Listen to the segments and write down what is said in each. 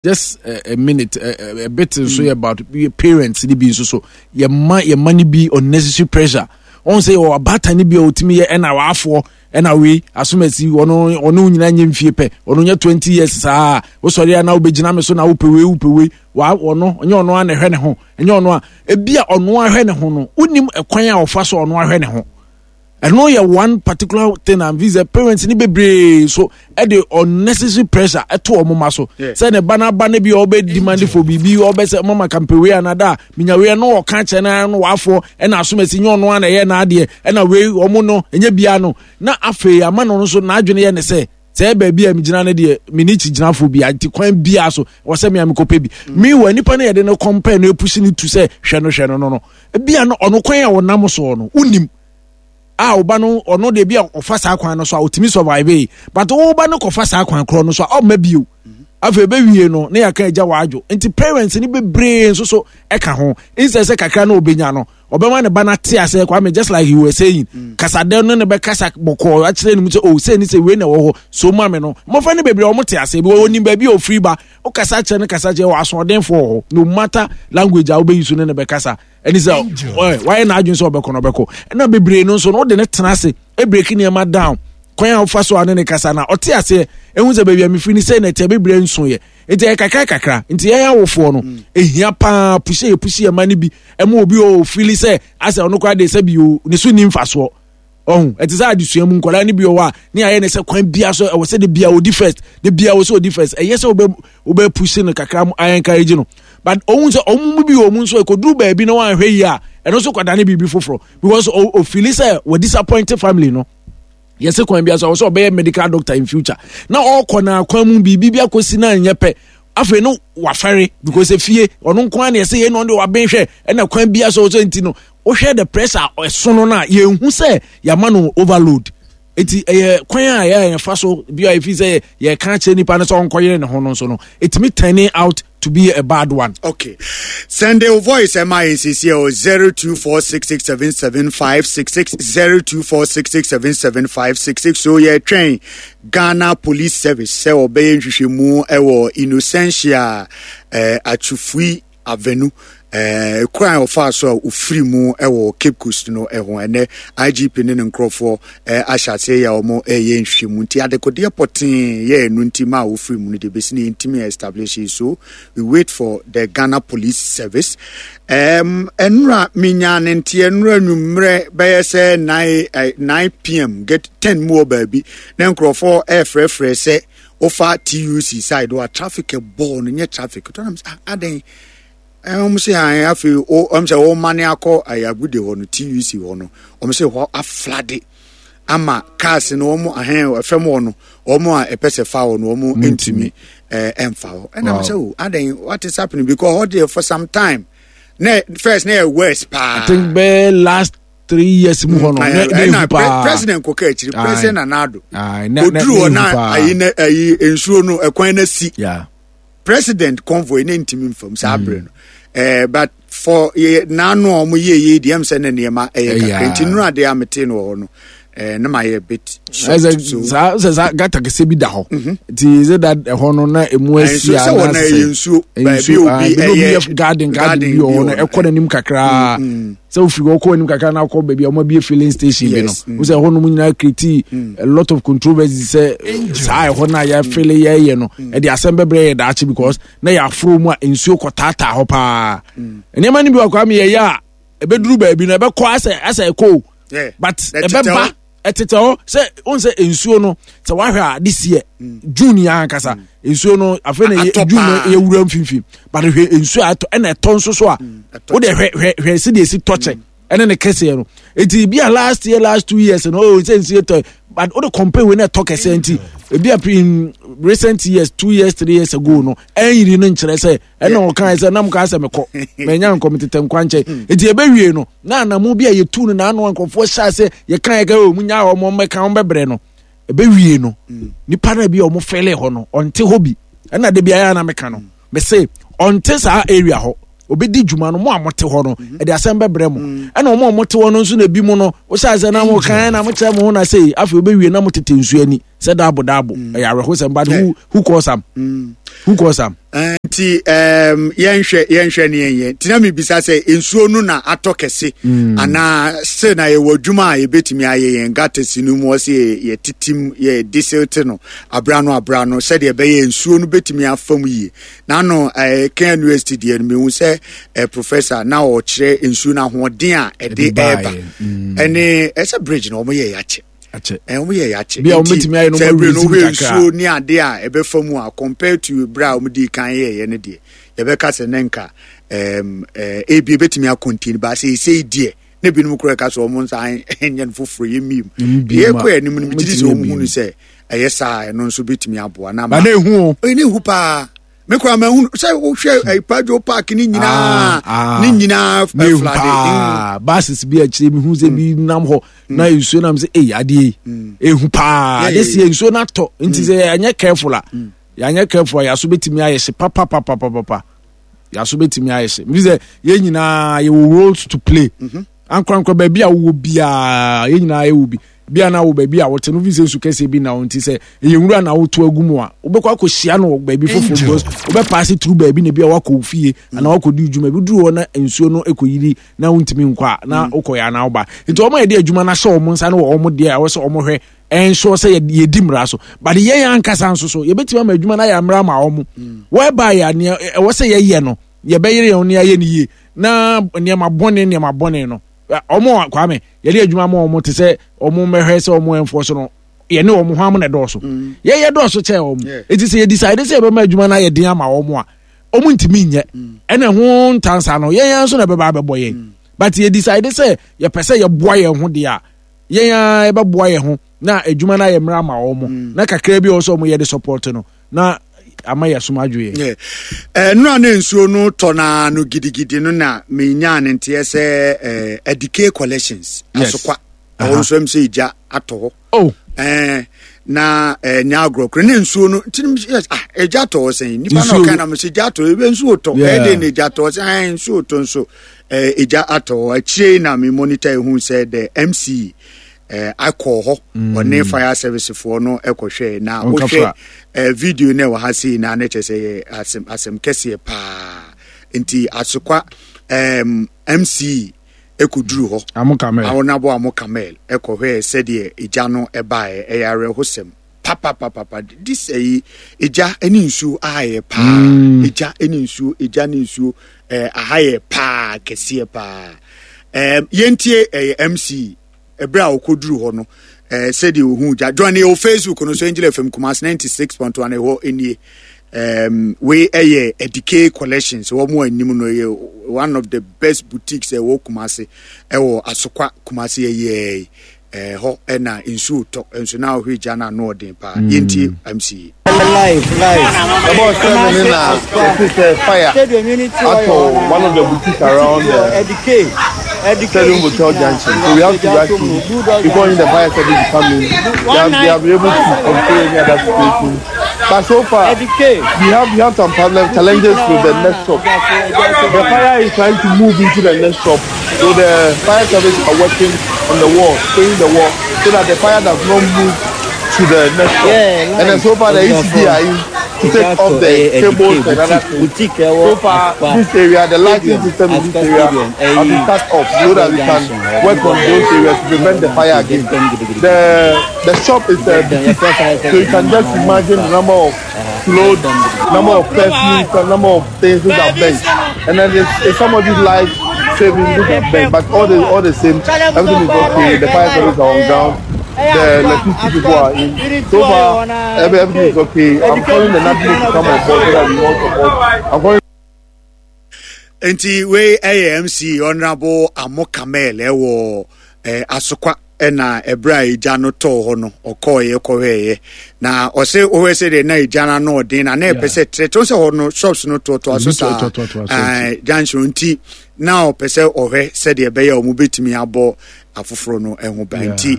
Just a minute, a bit nso yɛ about parents ni bi nso so yɛ ma yɛ ma ni bi unnecessary pressure. Wɔn sɛ yɛ abaatan ni bi a otumi yɛ ɛna w'afoɔ ɛna wei asomasi ɔno ɔno nyinaa nyɛ mfie pɛ, ɔno nyɛ 20 years saa wosɔre a na wobɛgyina me so na wopɛ wei, wopɛ wei, wa ɔno ɔnyɛ ɔno a na ɛhwɛ ne ho, ɛnyɛ ɔno a ebi a ɔno ahwɛ ne ho no, wonim ɛkwan a ɔfa so ɔno ahwɛ ne ho. Ɛno yɛ one particular thing and visa parents ni bebree so ɛde unnecessary pressure ɛto wɔn ma so sɛ ne ba n'aba ne bi a ɔbɛ demand for biribi, ɔbɛ sɛ mama kampe wei anada minya wei no, ɔka kyerɛ na no wafoɔ ɛna asomasi nyɛ ɔno ana ɛyɛ n'adeɛ ɛna wei wɔn no ɛnyɛ bia no, na afei ama no nso n'adwene yɛ ne sɛ sɛ baabi a megyina no deɛ mene kyigyinafoɔ bi nti kwan biara so wɔ sɛ mea mekɔpɛ bi. Meanwhile, nipa no yɛde no compare no epush no tu sɛ hwɛ no, hwɛ no, ebia no ɔno kwan a ɔnam soɔ no wonim a ɔba no ɔno deɛ bi a ɔfa saa kwan no so a ɔtumi survive yi, but ɔba no kɔfa saa kwan korɔ no so a ɔmma bio. Afei ɛbɛwie no na yɛaka agya w'adwo. Nti parents no bebree nso so ɛka ho, instead sɛ kakra na ɔbɛnya no ɔbɛma ne ba no ate aseɛ. Kwame, just like you were saying, kasadɛ no ne bɛkasa bɔkɔɔ akyerɛ no mu sɛ oh, sɛ ni sɛ wei na ɛwɔ hɔ so ma me no, mmɔfra no bebree ɔmo te aseɛ bi wɔnim baabi a ɔfiri ba. Wokasa kyerɛ no, kasa kyerɛ wɔ asoɔdenfoɔ wɔ hɔ, no matter language a wobɛyi so ne ne bɛkasa ɛne sɛ wayɛ n'adwene sɛ ɔbɛkɔ no ɔbɛkɔ. Ɛna bebree no nso no wode ne tena ase ebreak nneɛma down, kwan a wofa so a ne ne kasa na ɔte aseɛ ehu sɛ baabi a mefiri ne sɛ na ɛte bebree nso yɛ nti ɛyɛ kakra kakra. Nti yɛn awofoɔ no ehia paa push yɛ push yɛ ma no bi ɛma obi o feel sɛ asɛ ɔno koraa de sɛ bi o ne so ni mfasoɔ. Ɔho ɛte sɛ adesua mu nkwadaa no bi wɔ hɔ a ne ayɛ ne sɛ kwan bia so ɛwɔ sɛ de bia odi first, de bia wɔ sɛ odi first. Ɛyɛ sɛ wobɛ wobɛ push no kakra mu ayɛ encourage no, but ohun sɛ ɔmo mu bi wɔ mu nso ekoduru baabi na wɔanhwɛ yie a, ɛno nso kɔda ne biribi foforɔ because ofeel sɛ wɔ disappoint family no. Yɛsɛ kwan bi so ɔwɔ sɛ ɔbɛyɛ medical doctor in future na ɔkɔ na kwan mu biribi bi akɔsi na nyɛ pɛ, afei no wafɛre because efie ɔno nko ara na yɛsɛ yɛn na ɔno de waben hwɛ ɛna kwan bi so ɔsɛ nti no wohwɛ the pressure ɛso no na yɛnhu sɛ yɛama no overload. Eti ɛyɛ kwan a yɛ yɛfa so bi a efi sɛ yɛka kyerɛ nipa no sɛ ɔnkɔyere ne ho no nso no etumi turning out to be a bad one. Okay. Send your voice MINCC or 0246677566, 0246677566. So yeah, train Ghana Police Service sɛ ɔbɛyɛ nhwehwɛmu ɛwɔ Innocentia Atufui Avenue kwan a ɔfaa so a ofiri mu wɔ Cape Coast no ho. Ɛnɛ IGP ne ne nkurɔfoɔ ahyɛ aseɛ yɛ a wɔn ɛyɛ nhwehwɛmu, nti adekodeɛ pɔtee yɛ ɛno nti ma a ofiri mu no deɛ bɛsi no yɛntumi establish, so we wait for the Ghana Police Service. Ɛnura menya ne nteɛ nnura nwummerɛ bɛyɛ sɛ 9 9 pm get 10 mu wɔ baabi na nkurɔfoɔ ɛrefrɛfrɛ sɛ wofa TUC side a traffic ɛbɔɔ no nyɛ traffic tɔnam sɛ adɛn, wɔn sɛ an afei wɔn sɛ wɔn mane akɔ ayagude hɔ no, TUC hɔ no, wɔn sɛ hɔ aflood ama cars no wɔn ahɛn ɛfɛm hɔ no, wɔn a ɛpɛ sɛ fa hɔ no wɔn ntumi ɛnfa hɔ. Ɛna wɔn sɛ o adɛn, what is happening? Because hɔ deɛ for some time na first na yɛ worse paa. I think bɛɛ last 3 years mu hɔ no na ehu paa. President kɔkɔ akyiri, President Nana Addo oduru hɔ na ayi na ayi nsuo no ɛkwan na si president convoy ne ntumi nfam saa abere no but for yɛ n'ano a wɔn yɛ yie deɛ ɛm sɛ ne nneɛma ɛyɛ kakra nti nnura adeɛ a mete no wɔ hɔ no ne ma yɛ bit shocked so. Saa sɛ saa gutter kɛseɛ bi da hɔ nti sɛ da ɛhɔ no na emu asi a sɛ wɔn ɛyɛ nsuo baabi obi ɛyɛ garden bi wɔ hɔ no ɛkɔ n'anim kakraa sɛ ofiri hɔ kɔ anim kakra na akɔ baabi a wɔn abie filling station bi no wọ́n sɛ ɛhɔ nom nyinaa create a lot of controversy sɛ saa ɛhɔ no a yɛafele yɛyɛ no ɛde asɛm bɛbrɛ yɛ daakye because na yɛaforo mu a nsuo kɔ taataa hɔ paa. Nneɛma no bi wɔ kwa mi yɛyɛ a ɛbɛduru baabi no ɛbɛkɔ asɛ asɛ ɛkɔ o, but ɛbɛba ɛtetɛ hɔ sɛ wɔn sɛ nsuo no sɛ wahwɛ a this year June yɛ ankasa nsuo no afei na June no yɛ wura mfimfini, but hwɛ nsuo a ɛtɔ ɛna ɛtɔ nso so a wode hwɛ hwɛ hwɛ si deɛ esi tɔkyɛ ɛne ne kɛseɛ no. Eti bi a last year, last 2 years no, oh, sɛ nsuo tɔ, but wode compare wei na ɛtɔ kɛseɛ nti ebi a in recent years, 2 years, 3 years ago no ɛnyiri no nkyerɛ sɛ ɛna ɔka sɛ nam ka sɛ mekɔ manya nkɔm tetɛ nkwa nkyɛn. Nti ɛbɛwie no na anamu bi a yɛtu no na ano nkurɔfoɔ hyɛ ase yɛka yɛka ɔ mu nya ɔmo mmɛka ɔmo bɛbrɛ no. Ɛbɛwie no nipa no bi a ɔmo fɛle hɔ no ɔnte hɔ bi ɛna de bi ayɛ na meka no mese ɔnte saa area hɔ obɛdi dwuma no mo a mote hɔ no ɛde asɛm bɛbrɛ mo. Ɛna ɔmo a mote hɔ no nso na ebi mu no wohyɛ ase na mo kan na mo kyerɛ mo ho na sei afei wobɛwie na mo tete nsuo ani. Sɛ daabo daabo mm. ɛyɛ awerɛhosɛm but who who calls am mm. who calls am. Eh, nti um, yɛnhwɛ yɛnhwɛ ne yɛnyɛ nti na mebisa sɛ nsuo no na atɔ kɛse mm. anaa still na yɛwɔ adwuma a yɛbɛtumi ayɛ yɛn gutters no mu ɔsɛ yɛtetem yɛ desilte no abra no abra no sɛdeɛ ɛbɛyɛ nsuo no bɛtumi afa mu yie na ano eh, kan university deɛ no mehu sɛ eh, professor na ɔkyerɛ nsuo no ahoɔden a ɛde ɛɛba ɛne ɛsɛ bridge na wɔyɛ yɛakyɛ akyɛ. Ɛn wɔn yɛ yɛakyɛ. Bi a wɔn bɛtumi ayɛ no wɔn awurezi mu kakra. Nsuo ne ade a ɛbɛfa mu a compared to bere a wɔn di kan yɛɛyɛ no deɛ yɛbɛka sɛ ne nka ɛɛm ɛɛ ebi ebɛtumi akɔntini ba sɛ esei deɛ ne binom kura ka sɛ wɔn nsa nyɛ no foforɔ yɛ miem. Yɛ kɔ anim no megye di sɛ wɔn hu no sɛ ɛyɛ saa ɛno nso bɛtumi aboa na ma. Ba na ehu o. Ɛna ehu paa. Me kura ma ehunu sɛ wohwɛ ɛpadwo eh, park ne nyinaa ah, ah. ne nyinaa eh, flade. Paa buses bi akyire mi hu sɛ bi mm. nam hɔ mm. na nsuo nam sɛ eyi adeɛ yi mm. ehu paa adeɛ si nsuo na atɔ nti sɛ yɛanyɛ careful a yɛanyɛ careful a yɛaso betumi ayɛ hye papapapapapa yɛaso betumi ayɛ hye mi sɛ yɛn nyinaa yɛwɔ roles to play mhm. ankorankora baabi a wowɔ biara yɛn nyinaa yɛwɔ bi. Bia na wo baabi a wote no fi sɛ nsu kɛseɛ bi na wo nti sɛ ɛyɛ nwura na woto agu mu a wobɛkɔ akɔhyia no wɔ baabi foforɔ because wobɛpaase turu baabi na bi a wakɔ wo fie anaa wakɔdi dwuma bi duru hɔ na nsuo no ɛkɔyiri na wontumi nkɔ a na mm. wokɔyɛ anaa woba nti wɔn a yɛde adwuma no ahyɛ wɔn nsa no wɔ wɔn deɛ a ɛwɔ sɛ wɔn hwɛ ɛnsoɔ sɛ yɛdi mmara so but yɛn ankasa nso so yɛbɛtumi ama adwuma no ayɛ mmara ma wɔn mm. whereby a nea ɛwɔ sɛ yɛyɛ no yɛbɛyere yɛn ne ayɛ no yie na nneɛma bɔne nneɛma bɔne no wɔn kwame yɛde adwuma ma wɔn te sɛ wɔn mmɛhwɛ sɛ wɔn ɛnfoɔ so no yɛne wɔn ho am na ɛdɔɔso mm. yɛyɛ dɔɔso kyɛn wɔn eti sɛ yɛ decide sɛ yɛbɛma adwuma no ayɛ den ama wɔn a wɔn ntumi nyɛ mm. ɛna ho ntansa no yɛn yɛn nso na ɛbɛba abɛbɔ yɛn mm. but yɛ decide sɛ yɛpɛ sɛ yɛboa yɛn ho deɛ a yɛn ara yɛbɛboa yɛn ho na adwuma no ayɛ mmerɛ ama wɔn na kakra bi a wɔsɛ wɔn yɛ de support no na ama yɛasom adwo yɛn. Nnora ne nsuo no tɔ naa no gidigidi no na menyaa ne nteɛ sɛ Adike Collections asokwa ɛhɔ nso ɛm sɛ egya atɔ hɔ. Oh. Eh, na ɛnyɛ agorɔ koro ne nsuo no nti yes ah egya tɔ hɔ sɛn nipa na ɔka na mo sɛ egya tɔ ebe nsuo tɔ ɛde na egya tɔ sɛn ɛn nsuo tɔ nso egya atɔ hɔ akyire na mi monitor ehu sɛ the MC eh, akɔ hɔ mm. ɔne fire service foɔ no ɛkɔhwɛ na wohwɛ eh, video no ɛwɔ ha sei na ne kyɛ sɛ yɛ asɛm asɛm kɛseɛ paa nti asokwa um, mc ɛkɔduru hɔ awonabo amo kamel ɛkɔhwɛɛ sɛdeɛ egya no ɛbaeɛ ɛyɛ awerɛhosɛm papapapapa this ɛyi egya ne nsuo ahayɛ paa mm. egya ne nsuo egya ne nsuo ɛɛ ahayɛ paa kɛseɛ paa ɛɛm yɛntie ɛyɛ mc Ɛberɛ a ɔkɔduruu hɔ no, eh, sɛdeɛ ɔhuu gya. Join yɛ wɔ Facebook no so, Angel FM Kumasi 96.1 ɛhɔ nie. Um, wei ɛyɛ Edike Collections, wɔn a anim no ɛyɛ one of the best boutiques ɛwɔ Kumasi, ɛwɔ Asokwa Kumasi ɛyɛ ɛhɔ ɛna nsuo tɔ nso na ɔhwɛ gya no ano ɔden paa. Mm. Yɛntie MC. Live, live. About 7 na yɛte sɛ fire atɔ one of the boutiques around the Stadium Hotel Junction. So we have to rush in before the fire service to come in. They have been able to control any other situation. But so far, we have some problems, challenges with the next shop. The fire is trying to move into the next shop. So the fire service are working on the wall, spraying the wall, so that the fire does not move to the next shop. Yeah, and then so far the ECD are in to take off the cables and other things. So far, this area, the lighting system in this area has been cut off so that we can work on those areas to prevent the fire again. The the shop is a boutique, so you can just imagine the number of clothes, number of perfumes, the number of things which are bent. And then it's, it's somebody's life saving which are bent. But all the all the same, everything is okay. The fire service are on ground the electricity people are in. So far, everything is okay. I'm calling the NADMO to come on board so that we all support. I'm calling. Nti wei ɛyɛ MC Honorable Amo Kamel ɛwɔ eh, Asokwa ɛna ɛberɛ a egya no tɔɔ hɔ no ɔkɔɔyɛ kɔhwɛɛyɛ na ɔse wohwɛ sɛ deɛ na egya no ano ɔden na na ɛpɛ sɛ trɛtrɛ sɛ hɔ no shops no toatoa so saa eh, junction nti na ɔpɛ sɛ ɔhwɛ sɛdeɛ ɛbɛyɛ a wɔn bɛtumi abɔ afoforɔ no ho ban nti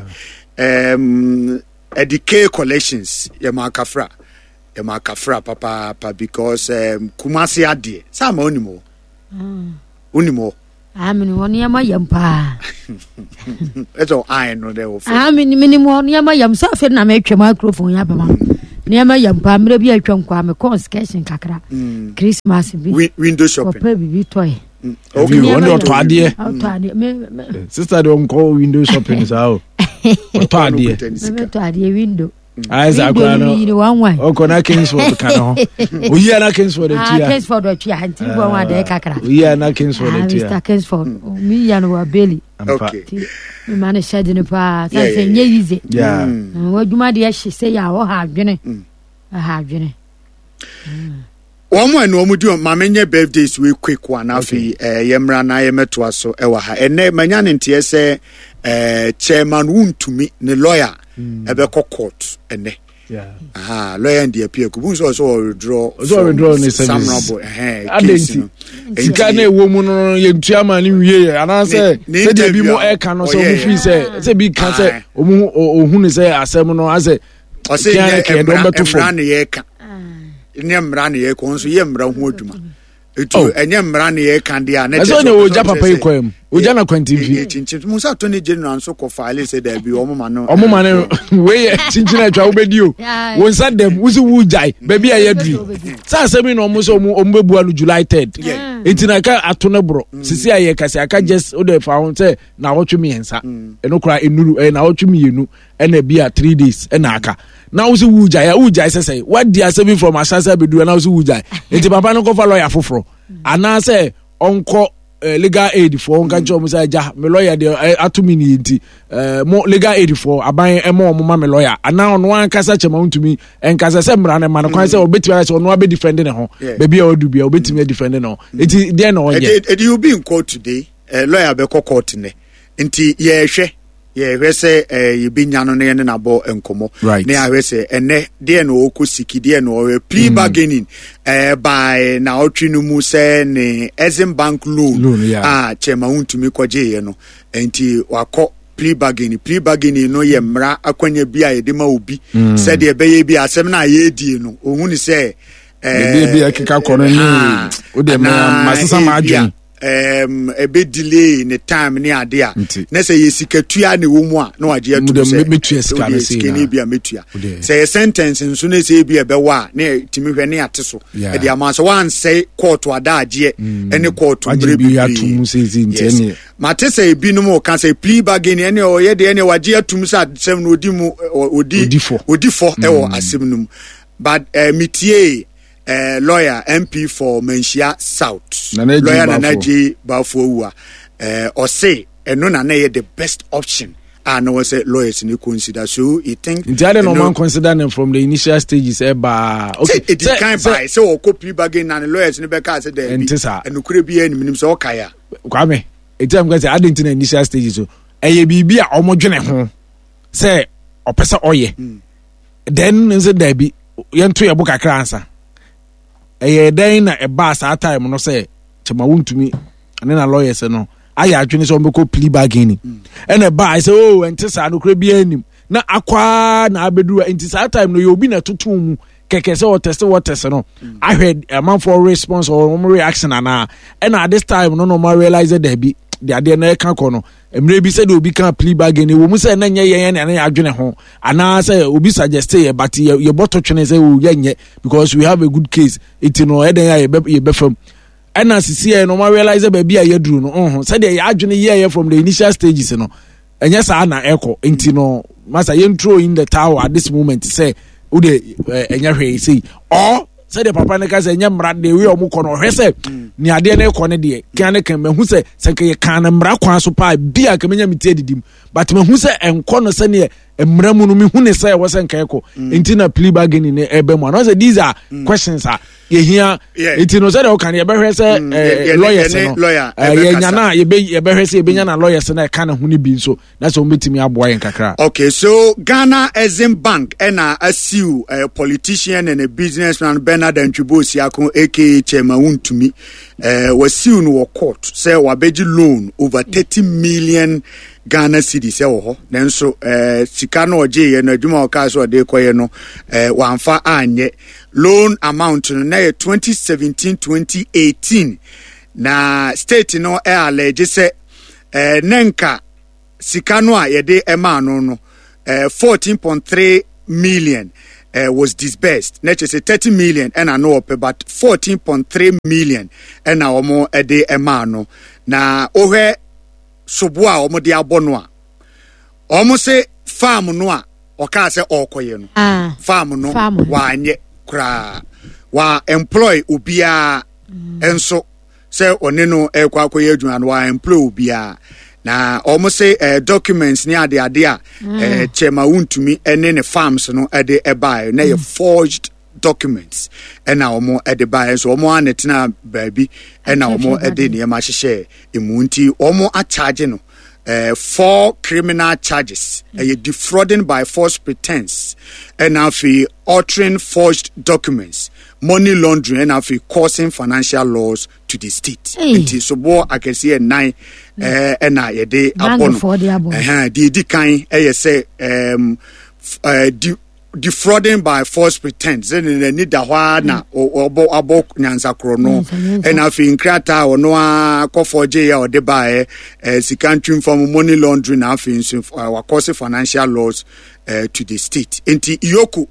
um, ɛde K collections yɛ ma akafra yɛ ma akafra papaapa because um, Kumasi adeɛ sɛ ama onim hɔ onim hɔ. Ah, menim hɔ nneɛma yam paa. Ɛsɛ ɔan no dɛ wɔ fam. Ah, menim hɔ nneɛma yam sɛ afei na metwa microphone yɛ abɛma. Nneɛma yam paa mmerɛ bi atwa nkɔ a mekɔɔ excursion kakra. Mm. Christmas bi. Window shopping. Kɔpɛ biribi tɔe. Mm. Okay. Wɔn de ɔtɔ adeɛ. Ɔtɔ adeɛ. Sister de ɔnkɔ window shopping saa o. Ɔtɔ adeɛ. Mɛtɔ adeɛ window. Ayɛ sɛ akora no ɔkɔ na Kingsford ka ne ho. Oyi a na Kingsford ah, atua. Kingsford atua nti bɔ wɔn adeɛ kakra. Oyi a na Kingsford ah, atua. Mr Kingsford mi ya no wɔ Bailey. Okay. Mi ma ne hyɛ de no paa sɛ sɛ nye yize. Wɔ adwuma deɛ hye sɛ yɛ a ɔha adwene. Ɔha adwene. Wɔn a ɛna wɔn di wɔn maame nyɛ birthdays wei quick one afei ɛɛ yɛ mmra na yɛ mɛtoa so ɛwɔ ha ɛnɛ manya ne nteɛ sɛ ɛɛ chairman wuntumi ne lawyer ɛbɛkɔ court ɛnɛ aha lawyer ndi apia kubu nso ɔsɛ ɔredraw ɔsɛ ne samrabo ɛhɛn case no sika na ɛwɔ mu no yɛntua ma ne nwie yɛ anaasɛ sɛdeɛ bi mu ɛka no sɛ ɔmo fii sɛ sɛ bi ka sɛ ɔmo ɔhu ne sɛ asɛm no asɛ ɔsɛ nyɛ mmara ne yɛka nyɛ mmara ne yɛka ɔno nso yɛ mmara ho adwuma etu oh. ɛnyɛ mmara ne yɛka deɛ a ne kyerɛ sɛ ɔgya papa yi kwan mu ɔgya na kwantimfi kyinkyin mu sɛ attorney general nso kɔ faile sɛ daabi ɔmo ma no ɔmo ma no wei yɛ kyinkyin atwa wobɛdi o wo nsa dɛm wosi wo gyae baabi a yɛaduri sɛ asɛm yi na ɔmo sɛ ɔmo ɔmo bɛbua no July 3rd nti na ɛka ato ne borɔ mm. sisi a yɛkasa aka just wode fa ho sɛ na awɔtwe mmiɛnsa mm. ɛno koraa ɛnuru ɛyɛ na awɔtwe mmienu ɛna bi a three days ɛna aka na wosi wu gyae a wu gyae sɛsɛ wadi asɛm bi from ahyase abɛduru na wosi wu gyae nti papa no nkɔfa lɔya foforɔ anaasɛ ɔnkɔ eh, legal aid foɔ nka nkyɛn wɔn sɛ agya me lɔya deɛ eh, ato mi nie nti eh, mo legal aid foɔ aban ɛma wɔn ma me lɔya anaa ɔno ankasa kyɛm a ntumi nkasa sɛ mmara no ma no kwan sɛ ɔbɛtumi ayɛ sɛ ɔno abɛ defend ne ho baabi a ɔdu bia ɔbɛtumi adefend ne ho nti deɛ na ɔnyɛ. ɛdi obi nkɔ today lɔya bɛkɔ court nɛ nti yɛhwɛ. Yɛhwɛ sɛ eh, yɛbɛnya no na yɛne no abɔ nkɔmmɔ right. na yɛahwɛ sɛ ɛnɛ deɛ na ɔkɔ siki deɛ na ɔyɛ plea mm. bargaining eh, by na ɔtwe no mu sɛ ne Exim Bank loan, loan yeah. a kyɛma wontumi kɔgyeeɛ no nti wakɔ plea bargaining. Plea bargaining no yɛ mmara akwanya bi a yɛde ma obi mm. sɛdeɛ ɛbɛyɛ bi asɛm no a yɛredie no ɔhu ne sɛ eh, bi ɛkeka kɔ no ne wode masesa m'adwen um, ɛbɛ delay ne time ne ade a na sɛ yɛ sikatua na ɛwɔ mu a na wagye atum sɛ mɛtua sika no sika no bi a mɛtua sɛ yɛ sentence nso ne sɛ ebi ɛbɛwɔ a na ɛtumi hwɛ ne ate so ɛde ama sɛ wansɛe kɔɔto adagyeɛ mm. ɛne kɔɔto mmerɛ bebree yes mate sɛ ebinom ka sɛ plea bargain ɛne ɔyɛ deɛ ɛne wagye atum sɛ asɛm no odi mu odi odi fɔ ɛwɔ mm. asɛm no mu but uh, metie eh, lawyer MP for Manhyia South, Nana lawyer Nana J Bafo Awua, eh, ɔse ɛno na na ɛyɛ the best option a na wɔ sɛ lawyers ni consider so he think. Nti adi na ɔman consider them from the initial stages ɛbaa. Eh, okay sɛ edi kan baa sɛ ɔkɔ plea bargain na ne lawyers ni bɛ kaa sɛ dɛbi nti saa ɛnukure bi ɛnim nim sɛ ɔka ya. Kwame eti am kɛ sɛ adi nti na initial stages so ɛyɛ biribi a wɔn dwene ho sɛ ɔpɛ sɛ ɔyɛ. Mm. Then nse daabi yɛnto yɛ bo kakra ansa ɛyɛ dɛn na ɛbaa saa time no sɛ kyɛma wontumi ne na lawyers no ayɛ adwene sɛ wɔbɛkɔ plea bargaining ɛna ɛbaa sɛ o oh, ɛnte saa nokorɛ biara nim na akwaa na abɛduru nti saa time no yɛ obi na ɛtoto mu kɛkɛ sɛ ɔtɛse wɔtɛse no ahwɛ amanfoɔ response or wɔn reaction anaa ɛna at this time no na wɔn realize daabi de adeɛ na ɛka kɔ no mmerɛ bi sɛdeɛ obi ka plea bargain wɔ mu sɛ na nyɛ yɛn na yɛn adwene ho anaasɛ obi suggest yɛ but yɛbɔ to twene sɛ o yɛnyɛ because we have a good case eti no ɛdɛn a yɛbɛ yɛbɛfam ɛna sisi yɛ no ɔma realize baabi a yɛduru no ɔho sɛdeɛ yɛ adwene yɛyɛ from the initial stages no ɛnyɛ saa na ɛkɔ nti no masa yɛn throw in the towel at this moment sɛ o de ɛnyɛ hwee sei or sɛdeɛ papa no ka sɛ ɛnyɛ mmara deɛ wei a ɔmo kɔ no ɔhwɛ sɛ nea adeɛ no kɔ no deɛ kan ne kan mahu sɛ sɛ nka yɛ kan no mmara kwan so paa bi a nka menya me ti adidim but mahu sɛ ɛnkɔ no sɛdeɛ mmara mu no mehu ne sɛ ɛwɔ sɛ nka ɛkɔ mm. nti na plea bargaining no ɛbɛ mu anaasɛ these are mm. questions a yɛhia nti no sɛdeɛ woka no yɛbɛhwɛ sɛ mm. eh, lawyers no eh, yɛnya no a yɛbɛhwɛ sɛ yɛbɛnya na lawyers no ɛka ne ho no bi nso na sɛ wɔbɛtumi aboa yɛn kakra. Okay, so Ghana Exim Bank ɛna asiw uh, politician and a businessman Bernard Antwibo Osiako aka Chairman Wuntumi uh, wasiw no wɔ court sɛ wabɛgye loan over 30 million Ghana cedis ɛwɔ hɔ nanso uh, sika no ɔgyeeɛ no adwuma a ɔkaa sɛ ɔde kɔyɛ no uh, wamfa anyɛ loan amount no na yɛ 2017 2018. Na state no allege sɛ ne nka sika no a yɛde maa no no 14.3 million was disbursed na kyerɛ sɛ 30 million ɛna no ɔpɛ but 14.3 million ɛna wɔn de maa no. Na wohwɛ sobo a wɔn de abɔ no a, wɔn se farm no a ɔkaa sɛ ɔrekɔyɛ no ah, farm no wanyɛ koraa, wa employ obiara nso sɛ ɔne no ɛrekɔ akɔyɛ adwuma no, wa employ obiara. Na wɔn se documents ne adeade a kyɛma wontumi ne ne farms no de ɛbaeɛ na yɛ forged documents ɛna wɔn de baeɛ nso wɔn a na tena baabi ɛna wɔn de nneɛma ahyehyɛ emu nti wɔn akyagye no four criminal charges ɛyɛ defrauding by false pretense ɛna afei altering forged documents, money laundering ɛna afei causing financial loss to the state. Nti soboɔ akɛseɛ nnan ɛna yɛde abɔ no. Ɛhɛn deɛ edi kan ɛyɛ sɛ defrauding by false pretense, sɛ n'ani da hɔ ara na ɔbɔ abɔ nyansakorɔ no, ɛna afei nkrataa a ɔno ara kɔfɔ gye a ɔde baeɛ, sika ntwimfam, money laundering, na afei nso wakɔse financial loss to the state. Nti EOCO,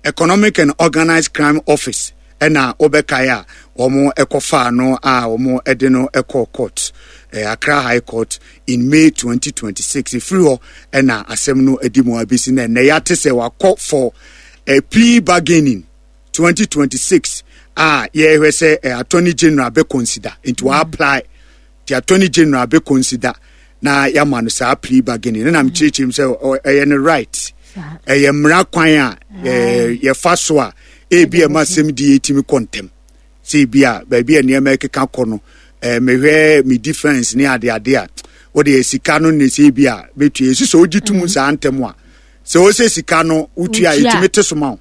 Economic and Organized Crime Office, ɛna wobɛkae a wɔn ɛkɔfaa no a wɔn ɛde no ɛkɔɔ court, Accra High Court in May 2026. Ɛfiri hɔ ɛna asɛm no adi mu abɛsi na ɛnɛ yɛate sɛ wakɔ for a plea bargaining 2026 a yɛhwɛ sɛ Attorney General bɛ consider nti wa apply the Attorney General bɛ consider na yɛama no saa plea bargaining. Ne nam kyerɛkyerɛ mu sɛ ɛyɛ no right, ɛyɛ mmara kwan a yɛfa so a ebi ɛma asɛm di yɛtumi kɔ ntɛm sɛ ebi a baabi a nneɛma ɛkeka kɔ no, mehwɛ me defense ne adeade a wode sika no ne sɛ ebi a bɛtua ɛsi sɛ wogye tom saa ntɛm a sɛ wo sɛ sika no wotua a ɛtumi te so ma wo.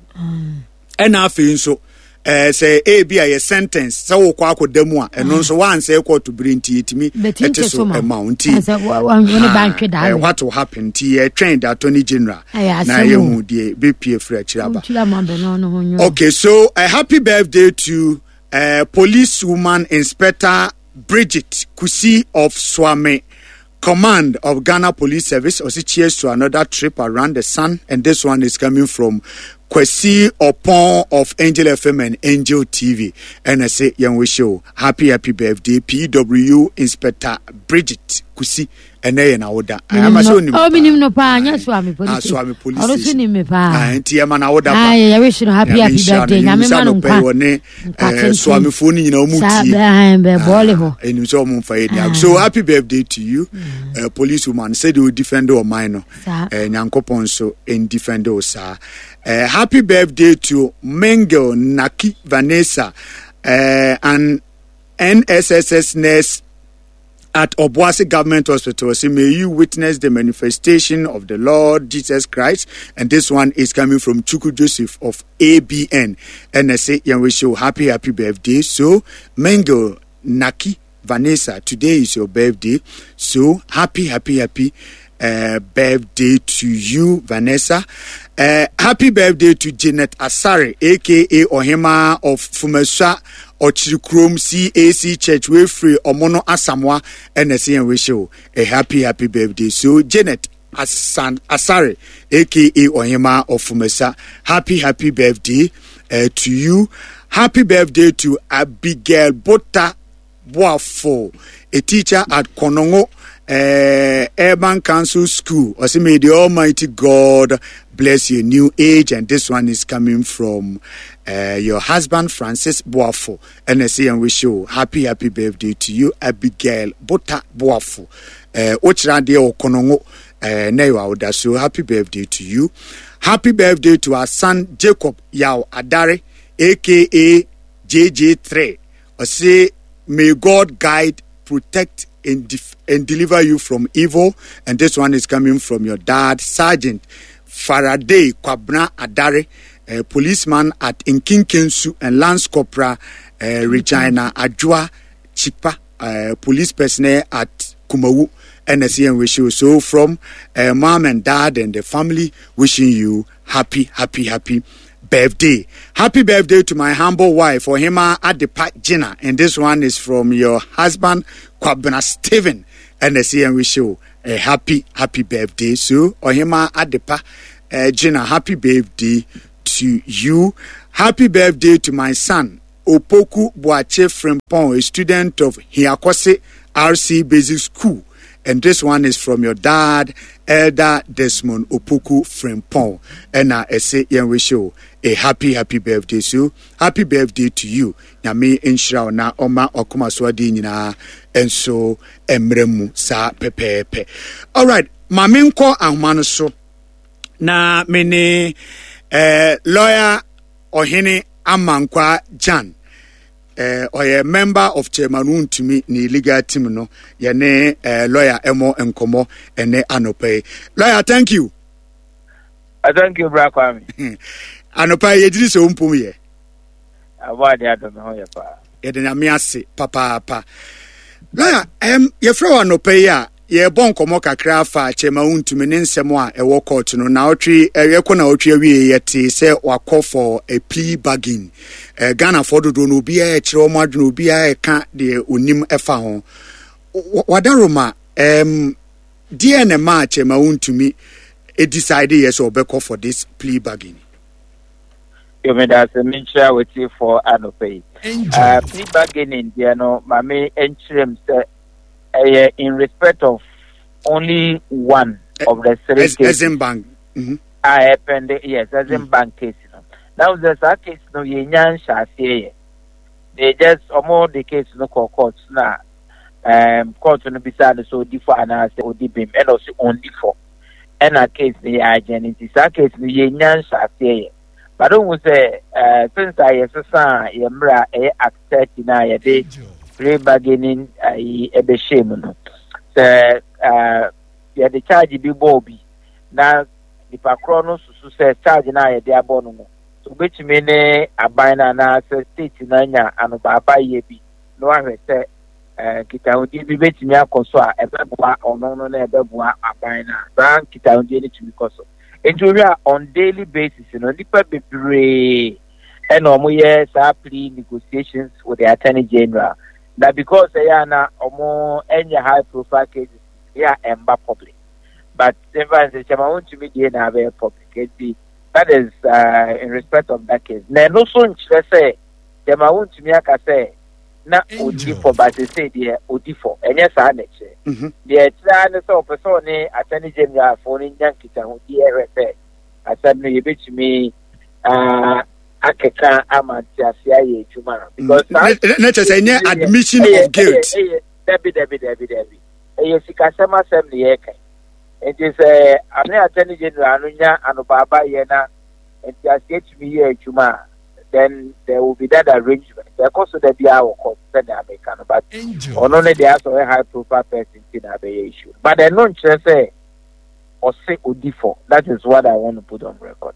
Ɛna afei nso sɛ ebi a yɛ sentence sɛ wokɔ akɔda mu a ɛno nso wansɛ kɔɔto bere nti ɛtumi ɛte so ɛma wo. Nti what will happen nti yɛtwɛn the Attorney General na yɛhu deɛ bɛpie firi akyiri aba. Okay, so a happy birthday to police woman Inspector Bridget Kusi of Swame Command of Ghana Police Service. Also cheers to another trip around the sun. And this one is coming from Kwesi Opon of Angel FM and Angel TV. And I say, Young wish you happy, happy birthday, PW Inspector Bridget Kusi. Ɛnɛ yɛ n'awoda. Oh, minim no paa, nyɛ Suame police. Suame police station. Ɔno so nim me paa. Nti ɛma n'awoda pa. Yɛ wish no happy happy birthday. Nyame ma no nkwa. Wɔne Suamefoɔ no nyinaa ɔmo tie. Saa bɛ bɔɔle hɔ. Ɛnim sɛ ɔmo nfa yɛ ni. So happy birthday to you, police woman. Sɛdeɛ o defend ɔman no, Nyankopɔn nso ndefend o saa. Happy birthday to Mengel Naki Vanessa, an NSSS nurse at Obuasi Government Hospital. Say, may you witness the manifestation of the Lord Jesus Christ. And this one is coming from Chuku Joseph of ABN. And I say, yeah, wish you happy, happy birthday. So, Mengel Naki Vanessa, today is your birthday. So, happy, happy, happy birthday to you, Vanessa. Happy birthday to Janet Asare, aka Ohima of Fumesua Ochirikrom CAC Church. We free Omono Asamoah and I wish you a happy, happy birthday. So, Janet Asare, aka Ohima of Fumesua, happy, happy birthday to you. Happy birthday to Abigail Bota Boafo, a teacher at Konongo Urban Council School. I say, may the Almighty God bless your new age. And this one is coming from your husband, Francis Boafo. And I say, and wish you happy, happy birthday to you, Abigail Bota Boafo. Ochirade Okonongo, so happy birthday to you. Happy birthday to our son, Jacob Yao Adare, aka JJ3. I say, may God guide, protect, and deliver you from evil. And this one is coming from your dad, Sergeant Faraday Kwabena Adare, a policeman at Nkinkensu, and Lance Corporal Regina Ajua Chipa, police personnel at Kumawu. NSCN wish you. So from mom and dad and the family, wishing you happy, happy, happy birthday. birthday. Happy birthday to my humble wife, Ohima Adepa Gina. And this one is from your husband, Kwabena Stephen. And the CN wish you a happy, happy birthday. So, Ohima Adepa Gina, happy birthday to you. Happy birthday to my son, Opoku Boache Frimpong, a student of Hiakose RC Basic School. And this one is from your dad, Elder Desmond Opoku Frimpong. And I say, wish you a happy, happy birthday. So, happy birthday to you. Nyame nhyira wo na ɔma ɔkoma so ade nyinaa nso mmerɛ mu saa pɛpɛɛpɛ. Alright, ma menkɔ ahoma no so na me ne eh, lawyer Ɔhene Amankwa Jan eh, ɔyɛ member of Chairman Wontumi ne legal team no yɛne eh, lawyer ɛmɔ nkɔmmɔ ɛnɛ anɔpa yi. Lawyer, thank you. Thank you, Bra Kwame. Anɔpa yi yɛgyiri sɛ wompom yɛ. Abɔ ade adɔ me ho yɛ paa. Yɛde Nyame ase papaapa. Lawyer, yɛfrɛ wɔ anɔpa yi a yɛrebɔ nkɔmmɔ kakra afa Kyerema Wontumi ne nsɛm a ɛwɔ court no. Naɔtwe, yɛkɔ naɔtwe awie yɛtee sɛ wakɔ for a plea bargain. Ghanafoɔ dodoɔ no obiara ɛkyerɛ wɔn adwene, obiara ɛka deɛ onim ɛfa ho. Wadaroma, deɛ na ɛmaa Kyerema Wontumi decide yɛ sɛ ɔbɛkɔ for this plea bargain? Yo, meda ase menkyerɛ awatiefoɔ anɔpa yi. Plea bargaining deɛ no, ma me nkyerɛ mu sɛ ɛyɛ in respect of only one of the three cases. Exim Bank. A ɛpɛnde, yes, Exim Bank case no. Na sɛ saa case no yɛnya nhyɛ aseɛ yɛ. They just ɔmo de case no kɔ court na court no bisa no sɛ odi fɔ anaasɛ odi bem ɛna ɔsi ɔndi fɔ. Ɛna case no yɛ agyen nti saa case no yɛnya nhyɛ aseɛ yɛ. But ohun sɛ since a yɛsesa yɛ mmerɛ a ɛyɛ Act 30 na yɛde plea bargaining ayi ɛbɛhyɛ mu no, sɛ yɛde charge bi bɔ obi na nipa korɔ no susu sɛ charge no a yɛde abɔ no no, so obetumi ne aban no anaasɛ state no anya anobaabayɛ bi na wahwɛ sɛ nkitahodie bi betumi akɔ so a ɛbɛboa ɔno no na ɛbɛboa aban no a, saa nkitahodie no tumi kɔ so. Nti wohwɛ a on daily basis no, nipa bebree ɛna wɔn yɛ saa plea negotiations with the attorney general. Na because ɛyɛ a na wɔn ɛnyɛ high profile cases yɛ a ɛmba public. But nfa nsɛ kyɛma wɔntumi die na abɛyɛ public. Nti that is in respect of that case. Na ɛno so nkyerɛ sɛ kyɛma wɔntumi aka sɛ na odi fɔ ba sese deɛ odi fɔ. Ɛnyɛ saa na ɛkyerɛ. Deɛ ɛkyerɛ ara ne sɛ ɔpɛ sɛ ɔne attorney general fo no nya nkitahodie ɛhwɛ sɛ asɛm no yɛbɛtumi akeka ama nteaseɛ ayɛ adwuma. Because saa na kyerɛ sɛ ɛnyɛ admission of guilt. Ɛyɛ dabi dabi dabi dabi. Ɛyɛ sikasɛm asɛm na yɛreka. Nti sɛ ane attorney general no nya anobaaba yɛ na nteaseɛ tumi yɛ adwuma a, then there will be that arrangement. Ɛkɔ so da biara wɔ court sɛnea meka no, but ɔno ne deɛ asɛ ɔyɛ high profile person ti na abɛyɛ issue. But ɛno nkyerɛ sɛ ɔse odi fɔ. That is what I want to put on record.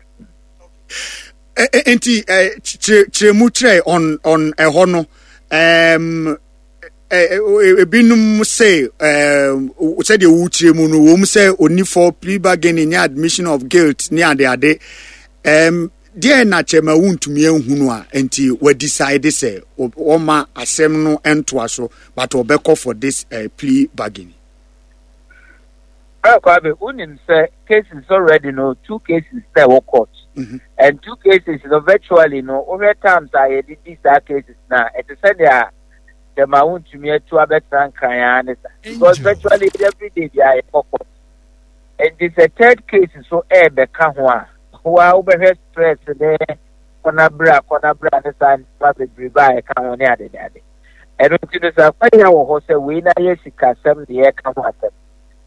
Nti kyerɛ mu kyerɛ on ɛhɔ no, ebinom sɛ sɛdeɛ wokyerɛ mu no wɔm sɛ ɔni fɔ, plea bargaining ne admission of guilt ne adeade. Deɛ na kyɛma wontumi ahunu a nti wɔdecide sɛ wɔma asɛm no ntoa so but ɔbɛkɔ for this plea bargaining? Kwame, wonim sɛ cases already no, two cases na ɛwɔ court. And two cases no virtually no, wohwɛ times a yɛde di saa cases na ɛte sɛ nea dɛm a wontumi atu abɛtena Nkran ara ne sa. Because virtually every day bi a yɛkɔ court. Nti sɛ third case so ɛɛbɛka ho a, wa wobɛhwɛ stress ne kɔnabra kɔnabra ne saa nneɛma bebrebe a ɛka ho ne ade ne ade. Ɛno nti no sɛ akwanya wɔ hɔ sɛ wei na yɛ sikasɛm ne yɛka ho asɛm.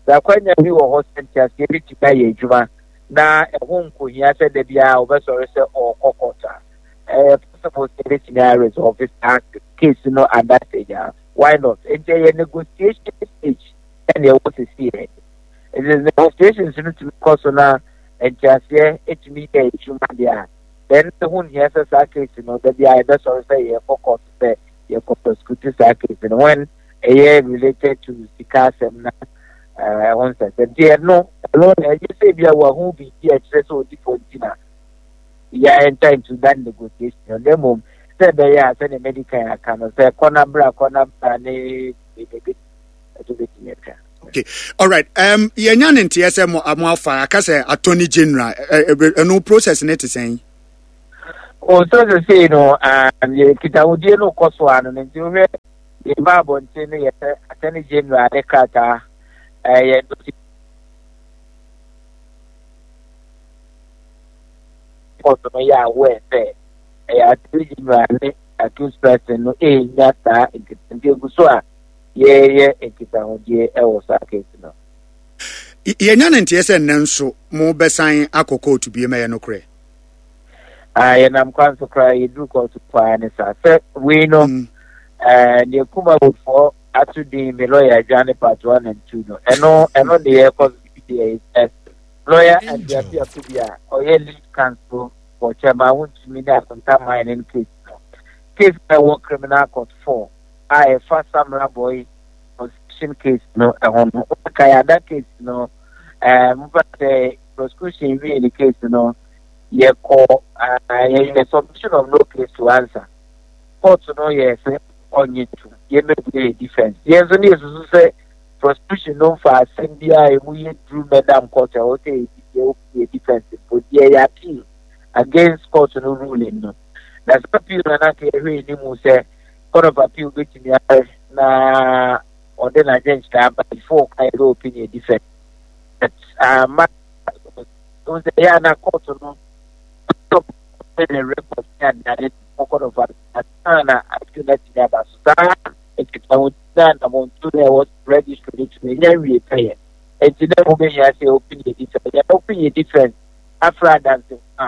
Sɛ akwanya bi wɔ hɔ sɛ nteaseɛ bi tumi ayɛ adwuma na ɛho nkohia sɛ da biara wɔbɛsɔre sɛ ɔrekɔ court a, ɛyɛ possible sɛ ebɛtumi a resolve saa case no at that stage a, why not? Nti ɛyɛ negotiation stage ɛna ɛwɔ sisi yɛ. Nti negotiations no tumi kɔ so na nteaseɛ tumi yɛ adwuma deɛ a, then ɛho nhia sɛ saa case no da biara yɛbɛsɔre sɛ yɛrekɔ court sɛ yɛkɔ prosecute saa case no when ɛyɛ related to sika asɛm na ɛho nsɛnsɛm. Nti ɛno ɛno na ɛnyɛ sɛ bi a wahu biribi a ɛkyerɛ sɛ odi fɔ nti na yɛ enter into that negotiation na mmom sɛ ɛbɛyɛ a sɛdeɛ mɛdi kan aka no sɛ kɔ na bra kɔ na bra ne bɛbi ɛso bɛtumi atwa. Okay, all right. Yɛnya ne nteɛ sɛ mo mo afa aka sɛ attorney general ɛno process ne te sɛn? O sɛ sesei no yɛ nkitahodie no kɔ so ano no nti wohwɛ yɛba abɔnten no yɛ sɛ attorney general ne krataa ɛyɛ court no yɛ aware sɛ ɛyɛ attorney general ne accused person no ɛnya saa nkitahodie egu so a yɛyɛ nkitahodie ɛwɔ saa case no. Yɛnya ne nteɛ sɛ nnɛ nso mobɛsan akɔ kóòtù biem, ɛyɛ nokorɛ? Ah, yɛnam kwan so koraa yɛduru kɔɔto paa ne saa sɛ wei no mm. eh, deɛ kumawofoɔ ato din me lɔya adwane part one and two no ɛno ɛno ne yɛkɔ deɛ sɛ lɔya Andiafi Akubi a ɔyɛ lead counsel for Chairman Wontumi ne Akonta mining case no case na ɛwɔ criminal court four a ɛfa Samra Boy concession case no ɛho no wɔkae ada case no ɛɛ mo sɛ prosecution wie ne case no yɛkɔ yɛyɛ submission of no case to answer. Court no yɛ sɛ ɔnye ntom yɛmmɛbue yɛ defense. Yɛn nso ne yɛsusu sɛ prosecution no mfa asɛm biara a emu yɛ duru mmɛdam court a ɛwɔ sɛ yɛ open yɛ defense mpo nti yɛyɛ appeal against court no ruling no. Na saa appeal no na anka yɛhwɛ anim sɛ court of appeal bɛtumi ahwɛ na ɔde n'adwenkyerɛ aba before ka yɛbɛ open yɛ defense. But amma Wohu sɛ ɛyɛ a na court no stop the record ne adeade kɔ court of appeal ansa na appeal no atumi aba so. Saa nkitahodzi no a anammɔntu no a ɛwɔ registry no tumi nya nwie pɛyɛ. Enti na ɛho behia sɛ open yɛ defense. Yɛ open yɛ defense afra adansefo a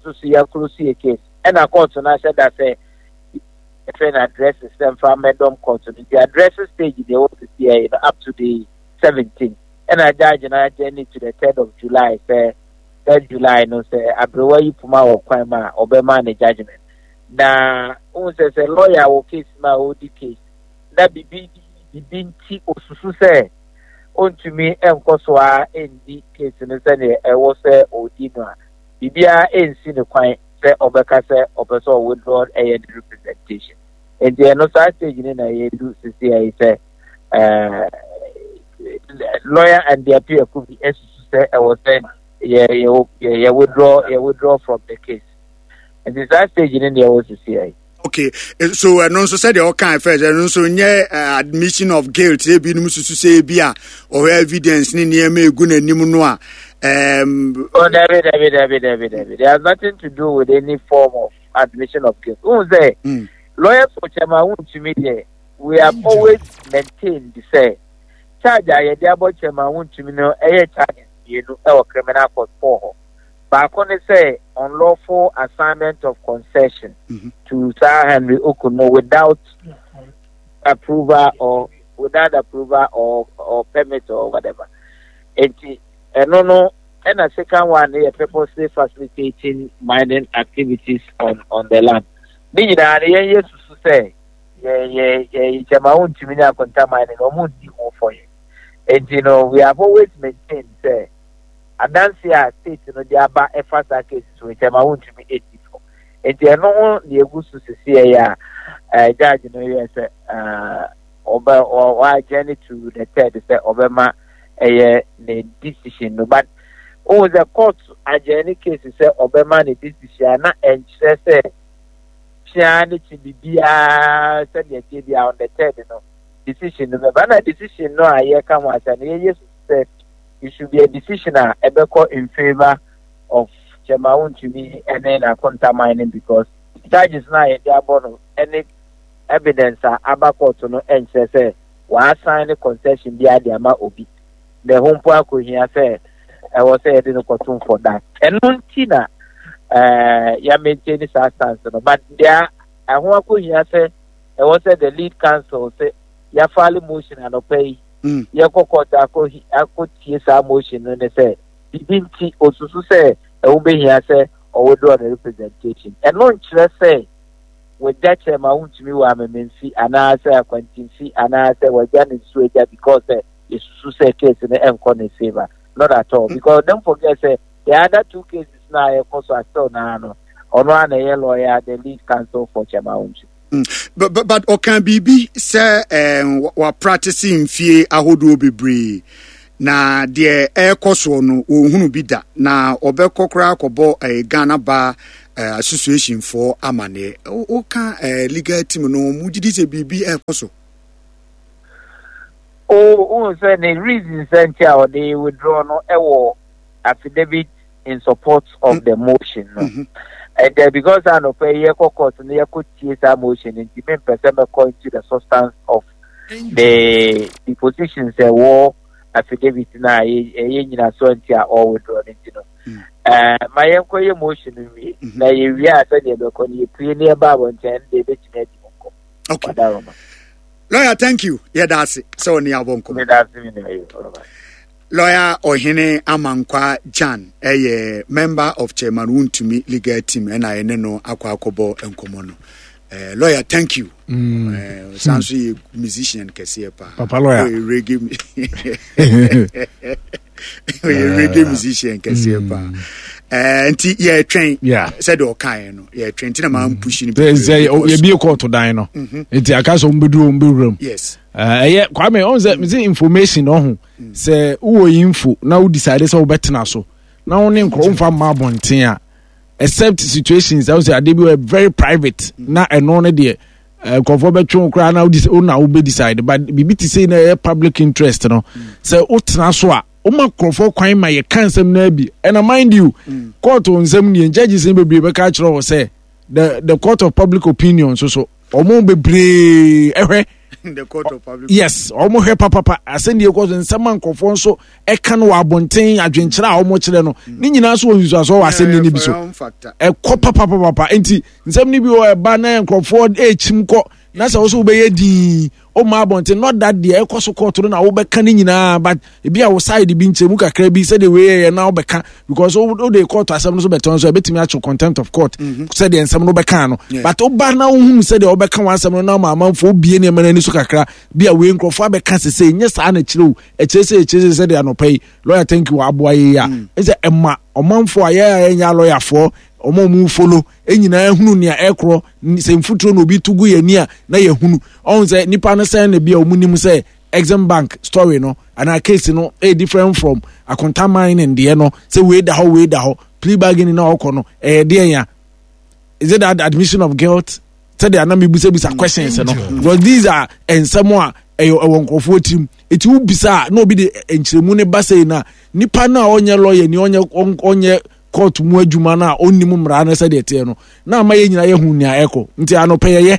nso so yɛ close yɛ case. Ɛna court no ahyɛ da sɛ yɛfrɛ no addresses sɛ mfa mmɛdɔm court no. Nti addresses stage deɛ ɛwɔ sisi yɛ no up to the 17. Ɛna judge no adjourn to the third of July sɛ third July no sɛ aberewa yi poma wɔ kwan mu a ɔbɛma ne judgement. Na wohu sɛ sɛ lawyer wɔ case mu a ɔredi case na bibi bibi nti osusu sɛ ontumi nkɔ so ara ndi case no sɛdeɛ ɛwɔ sɛ ɔdi no a, biribiara nsi ne kwan sɛ ɔbɛka sɛ ɔpɛ sɛ ɔwithdraw ɛyɛ ne representation. Nti ɛno saa stage no na yɛdu sisi yi sɛ eh, lawyer and their peer could be esusu sɛ ɛwɔ sɛ yɛ yɛ yɛ withdraw yɛ withdraw from the case nti saa stage no deɛ ɛwɔ sisi yɛ. Okay, eh, so ɛno nso sɛdeɛ ɔka first ɛno nso nyɛ eh, admission of guilt sɛ ebinom susu sɛ ebi a ɔhwɛ evidence ne nneɛma egu n'anim no a. Um, oh, dabi dabi dabi dabi dabi there has nothing to do with any form of admission of guilt. N sɛ mm. lawyer for chairman wuntumi deɛ. We have always maintained sɛ charge a yɛde abɔ Chairman Wontumi no yɛ charges mmienu wɔ criminal court four hɔ. Baako ne sɛ unlawful assignment of concession mm -hmm. to Sir Henry Okuno without approval or without approval or or permit or whatever. Enti ɛno no ɛna second one no yɛ purposely facilitating mining activities on on the land. Ne nyinaa no yɛn yɛ susu sɛ yɛ yɛ yɛ gyama wontumi ne akontaman no wɔn nni ho fɔ yɛ nti no we have always maintained sɛ adanse a state no de aba ɛfa saa case so gyama wontumi nni fɔ nti ɛno ho na egu so sisi ɛyɛ a ɛɛ judge no yɛ sɛ ɛɛ ɔbɛ ɔadjourn to the third sɛ ɔbɛma ɛyɛ ne decision no but ohun sɛ court adjourn case sɛ ɔbɛma ne decision a na ɛnkyerɛ sɛ. Kyea ne kye biribiara sɛdeɛ ɛteɛ biara on the third no decision no bɛba na decision no a yɛka ho asɛm no yɛyɛ susu sɛ it should be a decision a ɛbɛkɔ in favour of Kyɛma Wontumi ne n'akontaman no because charges no a yɛde abɔ no ne evidence a aba court no nkyerɛ sɛ wɔasan ne concession biara de ama obi na ɛho mpo akɔhia sɛ ɛwɔ sɛ yɛde no kɔtom for that. Ɛno nti na ɛɛ yɛ maintain saa stance no but deɛ ɛho akɔhia sɛ ɛwɔ sɛ the lead counsel sɛ yɛafile motion anɔpa yi mm. yɛkɔ court akɔ akɔtie saa motion no ne sɛ biribi nti osusu sɛ ɛho bɛhia sɛ ɔwithdraw ne representation. Ɛno nkyerɛ sɛ wagya kyerɛ ma wontumi wɔ amememfi anaasɛ akwantimfi anaasɛ wagya ne nsuo agya because sɛ yɛsusu sɛ case no ɛnkɔ ne favour. Not at all because don't forget sɛ the other two cases no. no a ɛkɔ so a still naa no ɔno ara na ɛyɛ lawyer the lead counsel for Chairman Wontumi. But, but, but ɔka biribi sɛ eh, wapractice mfie ahodoɔ bebree na deɛ ɛrekɔ soɔ no wɔnhunu bi da na ɔbɛkɔ koraa kɔbɔ eh, Ghana Bar eh, Association foɔ amaneɛ. Woka eh, legal team no mo gyidi sɛ biribi ɛrekɔ so? O, wohu sɛ ne reason sɛ nti a ɔde withdraw no ɛwɔ affidavit in support of mm. the motion no. Mm-hmm. And uh, because anɔpa yi yɛkɔ court no yɛkɔ tie saa motion nti mempɛ sɛ mɛkɔ into the substance of the the positions ɛwɔ affidavit no a ɛyɛ nyinasoɔ nti a ɔwithdraw no nti no. Mm. Eh, ma yɛnkɔ yɛ motion no wie mm-hmm. na yɛwie a sɛdeɛ ɛbɛkɔ no yɛpue ne yɛba abɔnten no deɛ ɛbɛtumi adi mu nkɔm. Okay. Lawyer, thank you. Yɛda ase sɛ ɔne abɔ nkɔmmɔ. Lawyer Ɔhene Amankwa Jan ɛyɛ member of Chairman Wontumi legal team ɛna yɛne no akɔ akɔbɔ nkɔmmɔ no. Uh, lawyer, thank you. Mm. Uh, san so yɛ musician kɛseɛ paa. Papa lawyer. Ɔyɛ reggae ɔyɛ reggae musician kɛseɛ mm. paa. Uh, nti yɛtwɛn sɛdeɛ ɔkaeɛ no yɛtwɛn nti na maa mpushi no. Sɛ yɛbie kɔɔto dan no mhm. nti aka sɛ ɔmbɛduru ɔmbɛwura mu. Yes. Ɛyɛ Kwame ɔn sɛ mese information ɔho sɛ wowɔ info na wo decide sɛ wobɛtena so na wo ne nkorɔ womfa mma abɔnten a except situations ɛwo sɛ adeɛ bi wɔ very private na ɛno no deɛ eh, nkurɔfoɔ bɛtwe wo koraa na wo na wobɛ decide but biribi te sei na ɛyɛ public interest no sɛ wotena so a woma nkurɔfoɔ kwan ma yɛka nsɛm no abi ɛna mind you court nsɛm nie judges no bebree bɛka akyerɛ wɔ sɛ the the court of public opinion nso so wɔn bebree ɛhwɛ the court of public yes wɔn hwɛ papapa asɛnniɛ kɔ so nsɛm a nkurɔfoɔ nso ɛka no wɔ abɔnten adwenkyerɛ a wɔn kyerɛ no mm. ne nyinaa nso wɔ nsusuasoɔ wɔ asɛnniɛ no bi so ɛkɔ papapapa nti nsɛm no bi wɔ ɛba na nkurɔfoɔ ɛrekyim kɔ na sɛ wɔso wobɛyɛ dii ɔma abɔnten not that deɛ ɛkɔ so kɔɔto no na wobɛka ne nyinaa but ebi a wo side bi nkyɛmu kakra bi sɛdeɛ wei yɛ na wobɛka because wode kɔɔto asɛm no so bɛtɔn so ɛbɛtumi akye contempt of court mhm. sɛdeɛ nsɛm no wobɛka no but woba na wohunu sɛdeɛ wobɛka w'asɛm no na ma amanfoɔ wobie nneɛma no ani so kakra bi a wei nkurɔfoɔ abɛka sesei nyɛ saa na kyerɛ o ɛkyerɛ sɛ ɛkyerɛ sɛ sɛdeɛ anɔpa yi lawyer thank you aboa yɛ yi a mm. ɛsɛ ɛma ɔmanfoɔ a yɛ a yɛnyɛ lɔyafoɔ ɔmo a ɔmo folo nyinaa hunu nea ɛkorɔ sɛ mfuturo na obi to gu yɛn ani a na yɛhunu ɔn sɛ nipa no sɛn na bi a ɔmo nim sɛ Exim Bank story no anaa case no ɛyɛ different from Akonta mining deɛ no sɛ wei da hɔ wei da hɔ plea bargaining na ɔkɔ no ɛyɛ deɛ ya is it that admission of guilt sɛdeɛ anam ebisabisa mm. questions no because these are nsɛm a ɛyɛ ɛwɔ nkurɔfoɔ tirim eti wobisa a na obi de nkyerɛmu ne ba sɛ na nipa no a ɔnyɛ lawyer ni ɔnyɛ ɔnyɛ court mu adwuma no a ɔnnim mmara no sɛdeɛ ɛteɛ no na ama yɛn nyinaa yɛhu nea ɛkɔ nti anɔpɛ yɛyɛ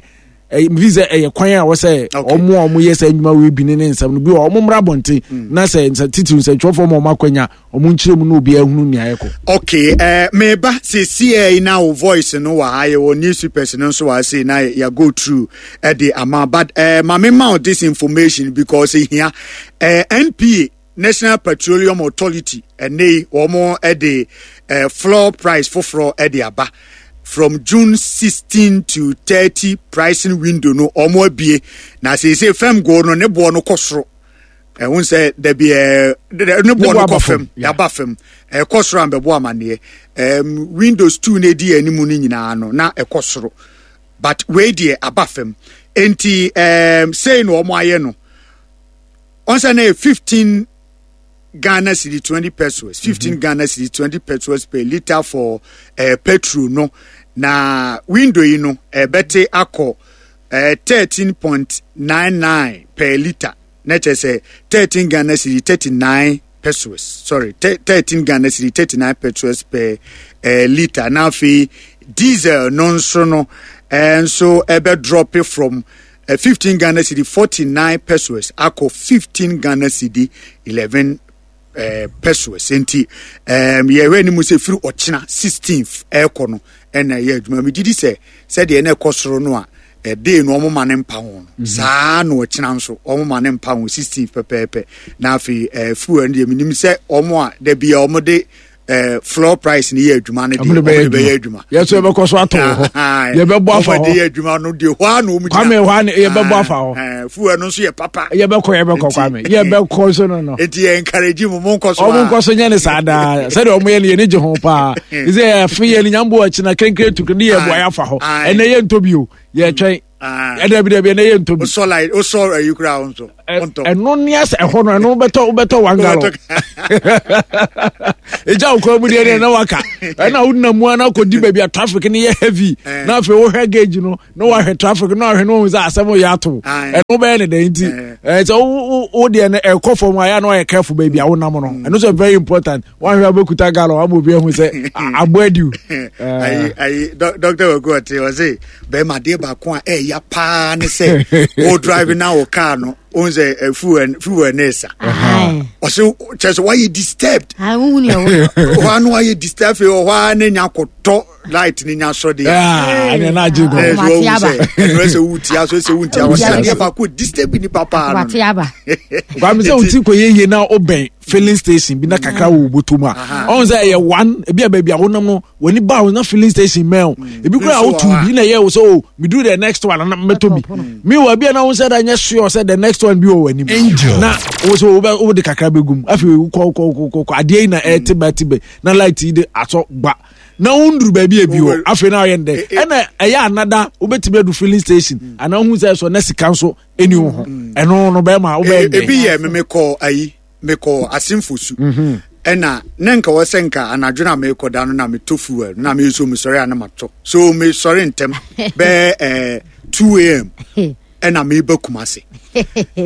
mfi sɛ ɛyɛ kwan a wɔsɛ ɔmo a ɔmo yɛ sɛ adwuma wei bi ne ne nsɛm no bi wɔ ɔmo mmra abɔnten mm. na sɛ nsɛ titiri nsɛntwerɛfoɔ ma ɔmo akwanya ɔmo nkyerɛ mu na obi ahunu nea ɛkɔ. okay ɛɛ eh, meba sisi ɛ na wo voice no wɔ ha yɛ wɔ newspapers no nso wɔ ha sei na yɛ go through ɛde ama but ɛɛ eh, maame ma this information because ehia ɛɛ eh, npa. National Petroleum Authority ɛnɛ yi wɔn de eh, floor price foforɔ de aba from June 16 to 30 pricing window no wɔn abie na seesei fam gold no ne boɔ no kɔ soro ɛho sɛ dabi ɛɛ ne boɔ no kɔ fam yaba fam ɛkɔ soro a mbɛbɔ amaneɛ ɛɛm windows two na edi anim no nyinaa no na ɛkɔ soro but wei deɛ aba fam nti ɛɛm sei na wɔn ayɛ no. Ɔn sɛ na yɛ 15 Ghana cedi 20 pesos 15 mm -hmm. Ghana cedi 20 pesos per litre for eh, petrol no na window yi no ɛbɛte eh, akɔ eh, 13.99 per litre na kyerɛ sɛ 13 Ghana cedi 39 pesos sorry 13 Ghana cedi 39 pesos per eh, litre na afei diesel no nso no eh, nso ɛbɛ drop from 15 Ghana cedi 49 pesos akɔ 15 Ghana cedi 11 eh, pesos nti um, yɛhwɛ anim sɛ firi ɔkyena 16th ɛrekɔ no ɛna ɛyɛ adwuma megye di sɛ sɛdeɛ na ɛkɔ soro no a ɛdee no ɔmo ma ne mpa ho no mhm. saa na ɔkyena nso ɔmo ma ne mpa ho 16th pɛpɛɛpɛ na afei eh, fuel no deɛ menim sɛ ɔmo a da bia ɔmo de eh, floor price ni yɛ adwuma no deɛ ɔmo de bɛyɛ adwuma. Yɛ so yɛbɛkɔ so atɔ wɔ hɔ. Yɛbɛbɔ afa hɔ. Ɔmo de yɛ adwuma no deɛ hɔ a na ɔmo gyina. Kwame hɔ a na yɛbɛbɔ afa hɔ. Fuel no nso yɛ papa. Yɛbɛkɔ yɛbɛkɔ Kwame yɛbɛkɔ so no no. Eti yɛ encourage mu mo nkɔ so. Ɔmo nkɔ so nyɛ ne saa daa sɛdeɛ ɔmo yɛ no yɛ ne gye ho paa. Sɛ yɛfe yɛ ne nyambo akyi na kenkere tukere ne yɛ bu ayɛ afa hɔ. Ɛnɛ yɛ ntɔ bio yɛtwɛn. Ɛdɛ bi dɛbi ɛnɛ yɛ ntɔ bi. Wosɔ light wosɔ ayi kura wo nso. Ɛno ne asɛ ɛhɔ no ɛno wobɛtɔ wobɛtɔ one gallon. Egya wo kwan mu deɛ deɛ na waka ɛna wonam mu ana akɔdi baabi a traffic no yɛ heavy na afei wohwɛ gauge no na wahwɛ traffic na wahwɛ no wahu sɛ asɛm yɛ ato ɛno bɛyɛ ne dɛn nti sɛ wo deɛ no ɛkɔ fam a yɛ na wayɛ careful baabi a wonam no ɛno sɛ very important wahwɛ a wobɛkuta gallon ama obi ahu sɛ aboa adiw. Ayi ayi dɔkta waku ɔte ɔse bɛrima adeɛ baako a ɛɛya paa ne sɛ wo drive na wo car no ohun sɛ eh, fuel fuel ne sa ɔsɛ kyerɛ sɛ wayɛ disturbed hɔ ano wayɛ disturbed afei ɔhɔ a ne nya kɔtɔ light ne nya sɔ deɛ ɛnɛ na agye gɔ ɛsɛ wɔn sɛ ɛnɛ sɛ wutia so sɛ wuntia wɔsɛ adeɛ baako disturb nipa paa no kwame sɛ wuti kɔ yɛ yie na ɔbɛn filling station bi na kakra wɔ bɔtɔ mu a ɔn sɛ ɛyɛ one ebi a baabi a wonam no w'ani ba wo na filling station mɛn o mm. ebi kura a wotu bi na ɛyɛ wo sɛ o oh, meduru the next one na mɛtɔ bi meanwhile bi a na wo sɛ da nyɛ sure sɛ the next one bi wɔ w'anim na wo sɛ wobɛ wode kakra bɛgum afei wokɔ kɔ kɔ kɔ adeɛ yi na ɛte ba te ba na light yi de asɔ gba na wonduru baabi ebi wɔ afei na ɔyɛ ndɛ ɛna ɛyɛ anada wobɛtumi adu filling station mm. anaa wohu sɛ ɛsɔ na sika nso ɛni wo ho mm. ɛno no bɛrima wobɛyɛ ndɛ ebi yɛ me mekɔ ayi mekɔ asemfosu mhm. ɛna na nka wɔ sɛ nka anadwo na mekɔ da no na metɔ fuel na meso mesɔre a na matɔ so mesɔre ntɛm bɛɛ eh, 2 am ɛna meba Kumase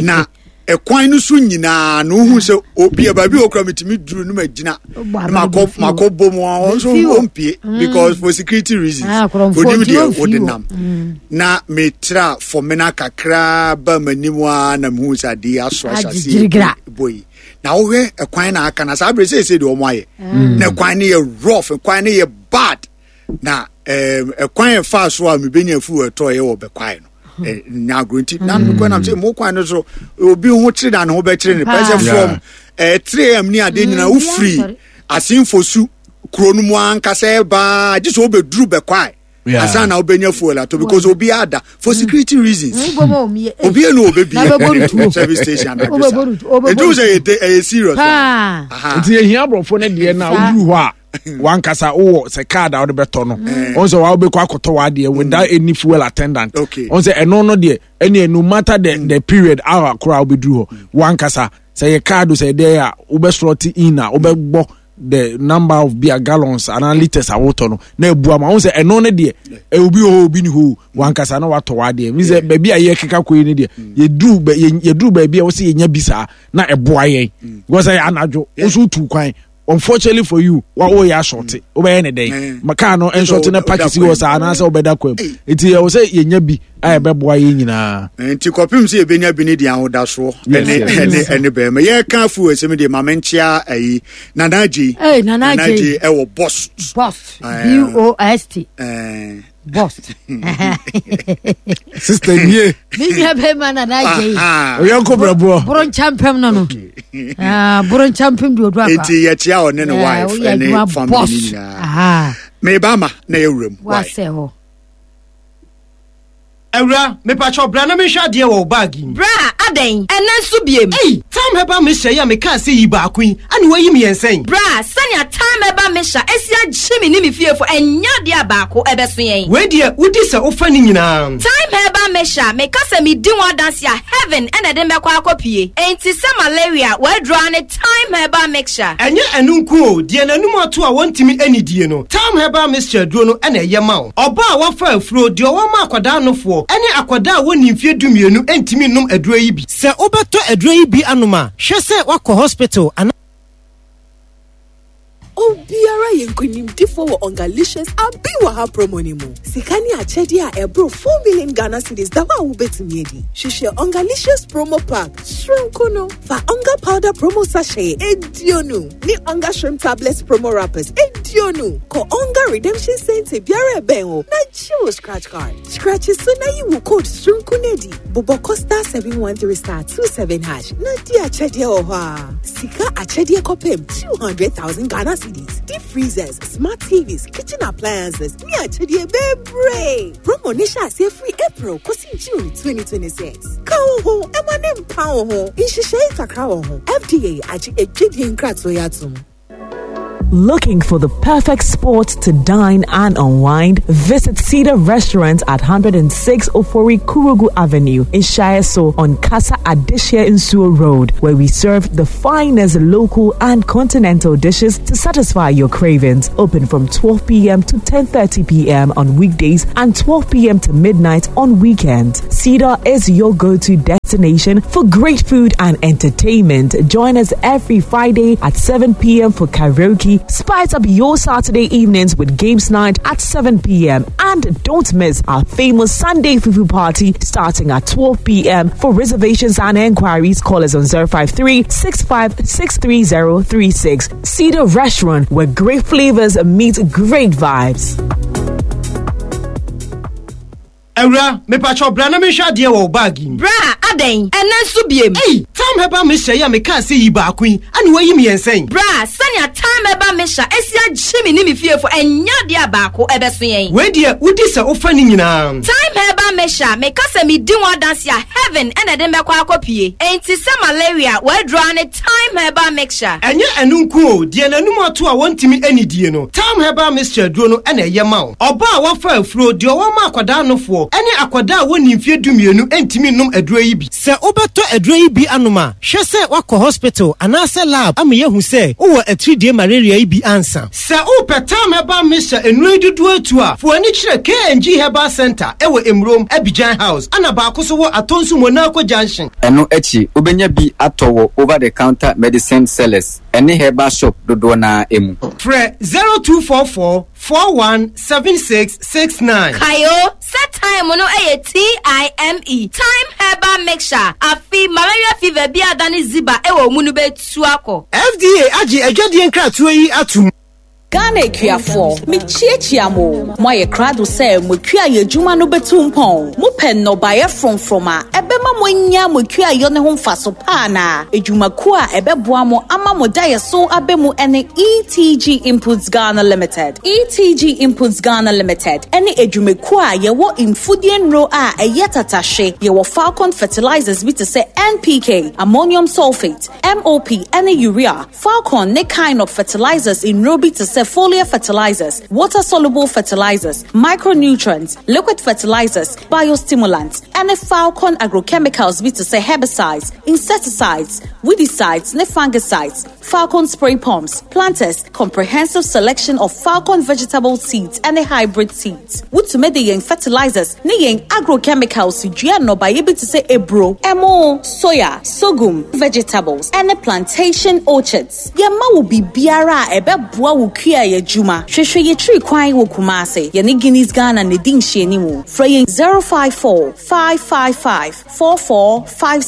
na ɛkwan no so nyinaa na wohu sɛ obi a baabi okura metumi duru no magyina na makɔ makɔ bɔ mu a wɔn nso wɔmpie mm. because for security reasons ah, onim deɛ wode nam mm. na metra fɔmena kakra ba m'anim a na mehu sɛ adeɛ aso ahyɛseɛ bɔ yi na wohwɛ ɛkwan na aka na saa bere sɛ ɛsɛ deɛ wɔn ayɛ mm. na ɛkwan no yɛ rough ɛkwan no yɛ bad na ɛkwan ɛfa so a mebɛnya afu ɛtɔ yɛ wɔ bɛkwae no nya agorɔ nti na mekɔ nam sɛ mo kwan no so obi ho kyere na ne ho bɛkyere ne pɛ sɛ from 3 am ne adeɛ nyinaa wofiri asenfo su kuro no mu ankasa ɛbaa gye sɛ wobɛduru bɛkwae ansa na wobɛnya fuel atɔ because obi ada for mm. security reasons mm, obi enu obebi service station anadwo sa nti wo sɛ ɛyɛ serious nti yɛhia aborɔfo no deɛ na woduru hɔ a wankasa wowɔ sɛ card a wode bɛtɔ no ɔn mm. sɛ wa wobɛkɔ akɔtɔ w'adeɛ without mm. any fuel attendant ɔn sɛ ɛno no deɛ ɛne no matter the, mm. the period hour koraa wobɛduru hɔ wankasa sɛ yɛ card sɛ ɛdeɛ a wobɛslɔte in a wobɛbɔ the number of beer gallons anaa liters a wotɔ no na ebu ama wɔn sɛ ɛno ne deɛ obi wɔ hɔ obi ni hɔ wankasa na watɔ w'adeɛ mi sɛ baabi a yɛkeka kɔ yi ne deɛ yɛduru yɛduru baabi a wɔsɛ yɛnya bi saa na ɛboa yɛn because ɛyɛ anadwo nso tu kwan unfortunately for you wa o yɛ asɔɔte wobɛyɛ ne dɛn ma kaa no nsɔɔte na park si hɔ saa anaasɛ wobɛda kwan mu nti ɛwɔ sɛ yɛnya bi a ɛbɛboa yɛn nyinaa. nti kɔpem sɛ yɛbɛnya bi ne deɛ ahodasoɔ ɛne ɛne ɛne bɛrima yɛka afu ɛsɛm deɛ maame nkyea ayi nana agye nana agye ɛwɔ bɔs bɔs b o s t boss sister nie me nua bɛrima na na agye yi oyɔnko brɛboɔ boro nkyɛmpem no no ah, boro nkyɛmpem de odu akwa nti yɛkyia ɔne ne wife ɛne family ne nyinaa meba ma na yɛwura mu wasɛ hɔ Awura, mepakyɛw bra na menhwɛ adeɛ wɔ wo bag yi mu. Bra, adɛn? Ɛnnɛ nso biem? Ei! Tam Herbal Mixture yi a mekaa sɛ yi baako yi, ɛna woayi mmiɛnsa yi? Bra, sɛnea Tam Herbal Mixture asi agye me ne me fiefo, ɛnyɛ adeɛ a baako ɛbɛso yɛn. Wei deɛ, wodi sɛ wofa ne nyinaa. Thyme Herbal Mixture, meka sɛ medi ho adanse a, heaven na ɛde me bɛkɔ akɔpue. Enti sɛ malaria, w'aduro ara ne Thyme Herbal Mixture. Ɛnyɛ ɛno nko o, deɛ n'anum ato a wɔntumi nnidie no, Thyme Herbal Mixture aduro no na ɛyɛ ma wo. Ɔbaa a wafa afuro, deɛ ɔwɔ ma akwadaa nofoɔ, ne akwadaa a wɔnnii mfeɛ dumienu ntumi nnom aduro yi bi. Sɛ wobɛtɔ aduro yi bi anom a, hwɛ sɛ woakɔ hospital anaa. Obiara yɛ nkonimdifoɔ wɔ Ongalicious Abi Wɔ Ha promo no mu. Sika ne akyɛdeɛ a ɛboro 4 million Ghana cedis da hɔ a wobɛtumi adi. Hwehwɛ Ongalicious promo pack soronko no. Fa Onga powder promo sachet eduonu ne Onga shrimp tablets promo wrappers eduonu kɔ Onga redemption center biara ɛbɛn wo na gye wo scratch card. Scratch so na yi wo code soronko no adi. Bobɔ kɔ star 713 star 27 hash na di akyɛdeɛ wɔ hɔ a. Sika akyɛdeɛ kɔpem 200,000 Ghana cedis, deep freezers, smart TVs, kitchen appliances ne akyɛdeɛ bebree. Promo no hyɛ aseɛ firi April kɔsi June 2026. Ka wo ho ma ne mpa wo ho. Nhyehyɛe kakra wɔ ho. FDA agye adwadie nkratoɔ yi atom. Looking for the perfect spot to dine and unwind? Visit Cedar Restaurant at 106 Ofori Kurugu Avenue in Shaeso on Casa Adishia Insuo Road, where we serve the finest local and continental dishes to satisfy your cravings. Open from 12 p.m. to 10:30 p.m. on weekdays and 12 p.m. to midnight on weekends. Cedar is your go-to destination for great food and entertainment. Join us every Friday at 7 p.m. for karaoke. Spice up your Saturday evenings with games night at 7 p.m. And don't miss our famous Sunday Fufu party starting at 12 p.m. For reservations and enquiries, call us on 053 6563036. Cedar Restaurant, where great flavors meet great vibes. Awura, mepakyɛw bra na menhwɛ adeɛ wɔ wo bag yi mu. Bra, adɛn? Ɛnnɛ nso biem? Ei! Tam Herbal Mixture yi a mekaa sɛ yi baako yi, ɛna woayi mmiɛnsa yi? Bra, sɛnea Tam Herbal Mixture asi agye me ne me fiefo, ɛnyɛ adeɛ a baako ɛbɛso yɛn. Wei deɛ, wodi sɛ wofa ne nyinaa. Time Herbal Mixture, meka sɛ medi ho adanse a, heaven na ɛde me bɛkɔ akɔpue. Enti sɛ malaria, w'aduro ara ne Thyme Herbal Mixture. Ɛnyɛ ɛno nko o, deɛ n'anum ato a wɔntumi nnidie no, Thyme Herbal Mixture aduro no na ɛyɛ ma wo. Ɔbaa a wafa afuro, deɛ ɔwɔ ma akwadaa nofoɔ, ne akwadaa a wɔnnii mfeɛ dumienu ntumi nnom aduro yi bi. Sɛ wobɛtɔ aduro yi bi anom a, hwɛ sɛ woakɔ hospital anaasɛ lab ama yɛahu sɛ wowɔ atiridie malaria yi bi ansa. Sɛ wopɛ Thyme Herbal Mixture nnuro yi dodoɔ atu a, fa w'ani kyerɛ KNG Herbal Centre wɔ Emurom, Abidjan House, ɛna baako nso wɔ Atonsu Monaco Junction. Ɛno akyi, wobɛnya bi atɔ wɔ over-the-counter medicine sellers ne herbal shop dodoɔ no ara mu. Frɛ 0244 41 76 69. Kae o, sɛ thyme no yɛ TIME, Thyme Herbal Mixture, afe malaria fever bi a adane ziba wɔ wo mu no bɛtu akɔ. FDA agye adwadie nkratoɔ yi atom. Ghana akuafoɔ, mekyiakyia mo o. Moayɛ krado sɛ mo akuayɔ adwuma no bɛtu mpɔn? Mopɛ nnɔbaeɛ frɔmfrɔm a ɛbɛma moanya mo akuayɔ no ho mfaso pa anaa? Adwumakuo a ɛbɛboa mo ama mo daeɛso aba mu ne ETG Inputs Ghana Limited. ETG Inputs Ghana Limited ne adwumakuo a yɛwɔ mfudeɛ nnuro a ɛyɛ tatahwe. Yɛwɔ Falcon fertilizers bi te sɛ NPK, ammonium sulphate, MOP ne urea, Falcon ne Kinop fertilizers nnuro bi te sɛ foliar fertilizers, water soluble fertilizers, micronutrients, liquid fertilizers, biostimulants, ne Falcon agrochemicals bi te sɛ herbicides, insecticides, weedicides ne fungicides, Falcon spray pumps, planters, comprehensive selection of Falcon vegetable seeds ne hybrid seeds. Wotumi de yɛn fertilizers ne yɛn agrochemicals dua nnɔbaeɛ bi te sɛ aburo, ɛmo, soya, sorghum, vegetables, ne plantation orchards. Yɛma wo biribiara a ɛbɛboa wo kuayɛ adwuma. Hwehwɛ yɛn akyiri kwan wɔ Kumasi. Yɛne Guinness Ghana na ɛdi nhyianimu. Frɛ yɛn 054 555 4456.